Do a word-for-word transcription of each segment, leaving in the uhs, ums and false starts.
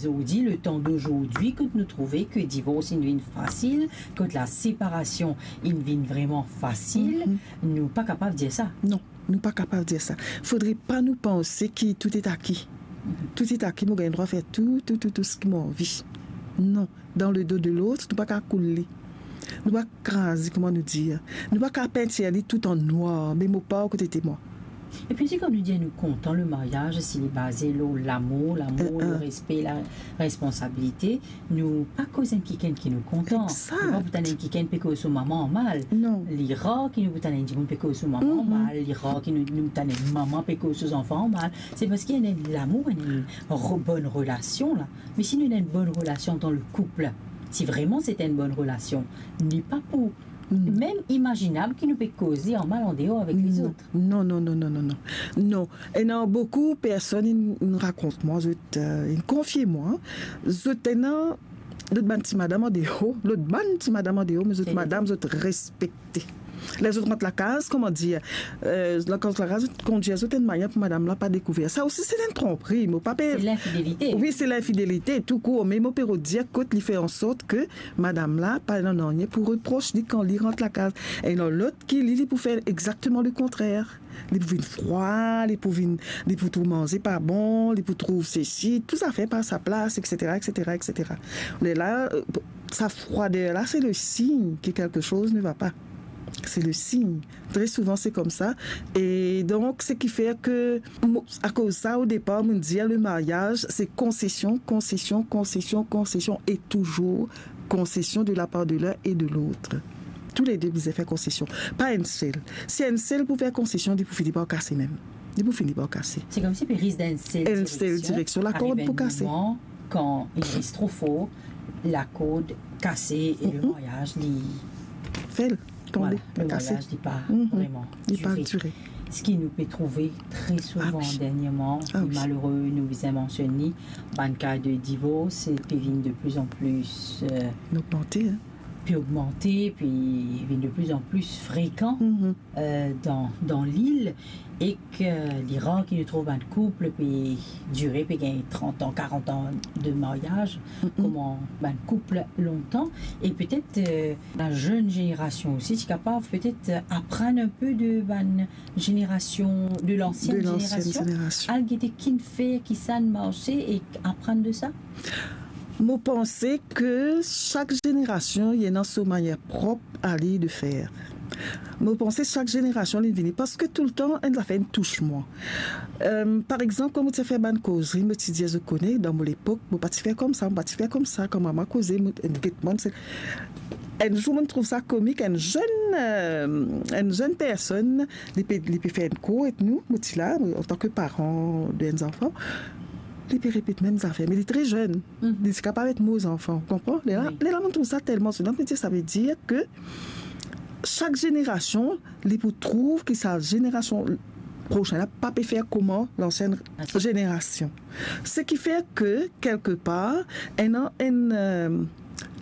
Zordi, le temps d'aujourd'hui, kot nou trouve ke divors inn vinn fasil, kot laseparasion inn vinn vreman fasil, nou pa kapav dir sa. Non, nou pa kapav dir sa. Fodre pa nou panse ki tout est acquis. Tout est acquis, mo gagn drwa fer tou, tou, tou, tou seki mo anvi. Non, dan le do de lot, nou pa kapav koul li. Nou pa kapav kraz li, kouma nou dir. Nou pa kapav pintir li tou an nwar, me mo par kote temwa. Epi si, kouma nou dir, nou kontan le maryaz, si li baze lor lamour, lamour, le respe, la responsabilite, nou pa koz enn kikenn ki nou kontan. Exakt. Nou pa pou tann enn kikenn pe koz so mama anmal. Non. Li rar ki nou pou tann enn dimoun pe koz so mama anmal, li rar ki nou, nou tann enn mama pe koz so zanfan anmal. Se parski ena enn lamour, ena enn re-, bonn relasion la. Me si nou ena enn bonn relasion dan le koup, si vreman se enn bonn relasion, li pa pou mem imazinab ki nou pe koze anmal andeor avek lezot. Non, non, non, non, non, non. Non. Ena boukou personn inn, inn rakont mwa, zot, euh, inn konfie mwa, zot ena lot bann ti madam andeor, lot bann ti madam andeor, me zot madam, zot respekte. Ler zot rant lakaz, kouma dir, euh, ler zot rant lakaz, zot kondir zot enn manier pou madam la pa dekouver. Sa osi se enn tronpri, mo pa pe... Se linfidelite. Wi, se linfidelite, tou kour, me mo pe rod dir kot li fer ansort ke madam la pa ena nanye pou repros li kan li rant lakaz. Ena lot ki li, li pou fer exakteman le kontrer. Li pou vinn frwa, li pou vinn, li pou trouv manze pa bon, li pou trouv sesi, tou zafer pa sa plas, et cetera, et cetera, et cetera. Lerla, euh, sa froider la, c'est le signe que quelque chose ne va pas. C'est le signe. Très souvent, c'est comme ça. Et donc, ce qui fait que, mo-, akoz sa, au départ, mo dir, le mariage, c'est concession, concession, concession, concession, et toujours concession de la part de l'un et de l'autre. Tou le de bizin fer konsesion. Pa enn sel. Si enn sel pou fer konsesion, li pou fini par kase mem. Li pou fini par kase. Se koumsi pe res dan enn sel direksion. Enn sel direksion, lakord pou kase. Ariv enn moman, kan li res tro for, lakord kase e le maryaz, li fel tonbe, voilà, le maryaz, li pa vreman dire. Li pa dire. Seki nou pe trouve tre souvan dernierman, li malere, nou bizin mansionn li, bann ka de divors pe vinn de pli an pli, euh, pe ogmante, pe vinn de pli an pli frekan, euh, dan, dan lil, e ke li rar ki nou trouv bann koup pe dire, pe gagn trant an, karant an de maryaz, kouma bann koup lontan. E petet, euh, la zenn zenerasion osi, ti kapav petet, euh, aprann enn pe de bann zenerasion, de lansienn zenerasion, al gete ki inn fer, kisannla marse e aprann de sa. Mo panse ke sak zenerasion, li ena so manier prop a li de fer. Mo panse sak zenerasion, li vini, parski toultan, enn zafer inn tous mwa. Euh, par exanp, kan mo ti fer bann kozri, mo ti dir, zot kone, dan mo lepok, mo pa ti fer koumsa, mo pa ti fer koumsa, kan mama koze, mo, enn get mwa, se, enn zour, mo trouv sa komik, enn zenn, euh, enn zenn personn, li pe, li pe fer enn kour ek nou, mo ti la, antan ke paran de enn zanfan, li pe repet mem zafer, me li tre zenn. Li ti kapav et mo zanfan, ou konpran? Lerla, lerla mo trouv sa telman sonan, mo dir, sa ve dir ke sak zenerasion, li pou trouv ki sa zenerasion prosin la pa pe fer kouma lansienn zenerasion. Seki fer ke, kelkepar, ena enn, euh,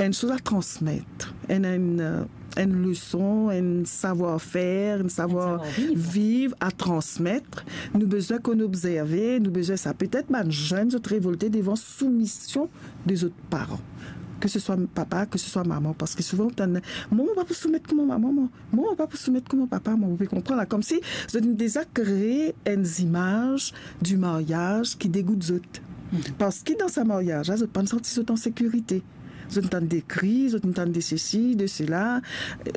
enn soz a transmet, enn, enn, euh, enn leson, enn savwar-fer, enn savwar viv a transmet. Nou bizin konn obzerve, nou bizin sa. Petet bann zenn, zot revolte devan soumision de zot paran. Ke se swa papa, ke se swa mama, parski souvan, ou tann, "Mwa, mo pa pou soumet kouma mama, mwa. Mwa, mo pa pou soumet kouma papa, mwa." Ou pe konpran la, koumsi zot inn deza kree enn zimaz di maryaz ki degout zot. Parski dan sa maryaz la, zot pa'nn santi zot an sekirite. Zot inn tann de kri, zot inn tann de sesi, de sela,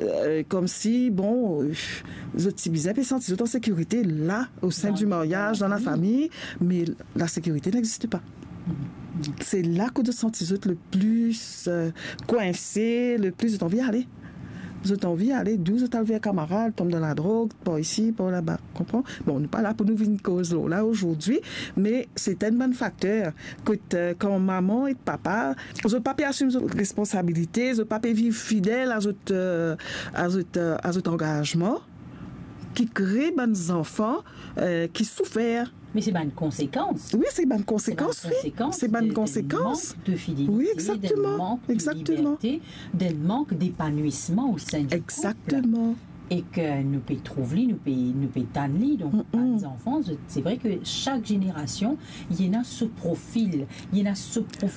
euh, koumsi, bon, euh, zot ti bizin pe santi zot an sekirite la, o sein di maryaz, dan lafami, me lasekirite n'existe pa. Se la ke zot santi zot le pli, euh, kwinse, le pli zot anvi ale. Zot anvi ale, dou zot al ver kamarad, tonm dan ladrog, par isi, par laba, konpran? Bon, nou pa la pou nou vinn koz lor la azordi, me se enn bann fakter kot, euh, kan mama ek papa, zot pa pe asim zot responsabilite, zot pa pe viv fidel a zot, euh, a zot, euh, a zot angazman, ki kree bann zanfan, euh, ki soufer. Me se bann konsekans. Wi, se bann konsekans, wi. Se bann konsekans de, de mank de fidelite, de mank de liberte, de mank depanwisman o sein di koup. Exactement. E ke nou pe trouv li, nou pe, nou pe tann li. Donk, bann zanfan, se vre ke sak zenerasion, li ena so profil, li ena so profil.